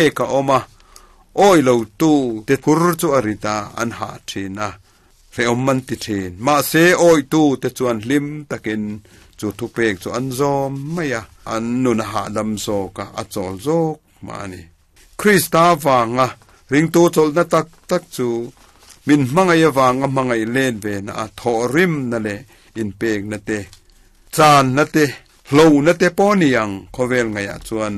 Pek a awm a, awi lo tu te phur chu a rit a, an hah thin a, hrehawm an ti thin. Mahse, awi tu te chuan hlim takin chu thupek chu an zawm mai a, an nun a hahdam zawk a, a chawl zawk mah a ni. Krista vanga ringtu chawlhna tak tak chu min hmangaih avanga hmangaih let ve na a thawhrimna leh inpekna te, Channa te, hlona te pawh ni ang khawvel ngaihah chuan,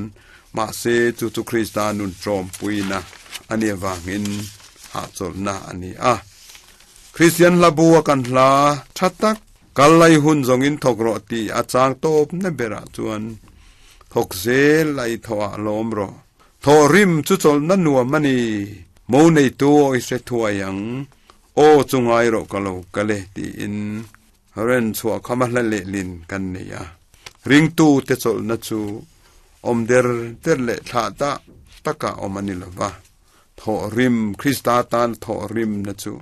mahse chu chu Krista nun tlawmpuina a nih avangin hahchawlhna a ni a. Kristian hla bu a kan hla tha tak, Kal lai hun zawngin thawk rawh tih a chang tawpna berah chuan thawk zel a i thawhah lawm rawh. Thawh rim chu chawlhna nuam a ni, mo neitu aw i hre thuai ang, aw chu ngai rawh ka lo kal e tiin Ren chhuah kham a hla lehlin kan nei a, ringtute chawlhna chu awm der der leh thlah dah taka awm a ni lo va. Thawhrim, Krista tan thawhrimna chu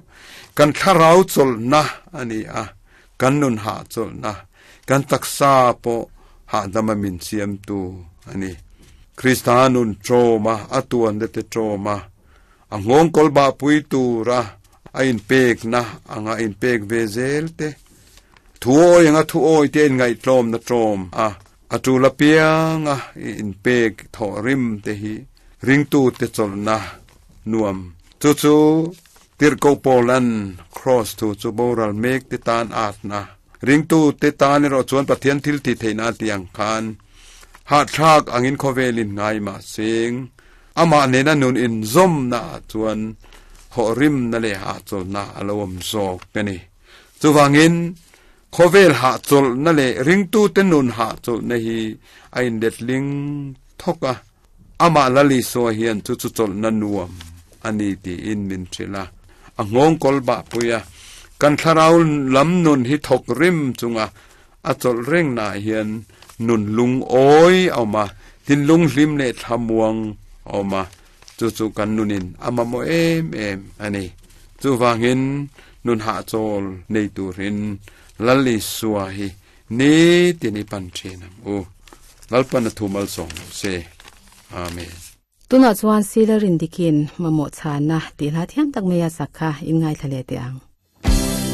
kan thlarau chawlhna a ni a, kan nun hahchawlhna, kan taksa pawh hahdama min siamtu a ni. Krista nun ṭawma, a tuante te ṭawma, A nghawngkawl bahpui tura a inpekna anga inpek ve zel te, thuawi anga thuawi te inngaihtlawmna tlawm a, a tul apianga i inpek thawh rim te hi ringtute chawlhna nuam. Chu chu Tirhkoh Paulan Kraws thu chu boral mek te tan atna, ringtute tan erawh chuan Pathian thil tih theihna a tih ang khan hahthlak angin khawvelin ngai mah seng. Amah nena nun inzawmna ah chuan thawhrimna leh hahchawlhna a lo awm zawk a ni. Chuvangin, khawvel hahchawlhna leh ringtute nun hahchawlhna hi a inletling thawk a, amah Lal Isua hian chu chu chawlhna nuam a ni tiin min hrilh a, a nghawngkawl bahpui a. Kan thlarau lam nun hi thawk rim chunga A chawlh rengnaah hian nun lungawi a awm a, thinlung hlim leh thlamuang a awm a, chu chu kan nunin a mamawh em em a ni. Chuvangin nun hahchawl nei turin Lal Isua hi nitin i pan thin ang u. Lalpan a thu malsawm lo se. Amen. Tunah chuan Sila Rindikin mamawh chhana tih hla thiam tak mai a sak kha in ngaithla leh teh ang.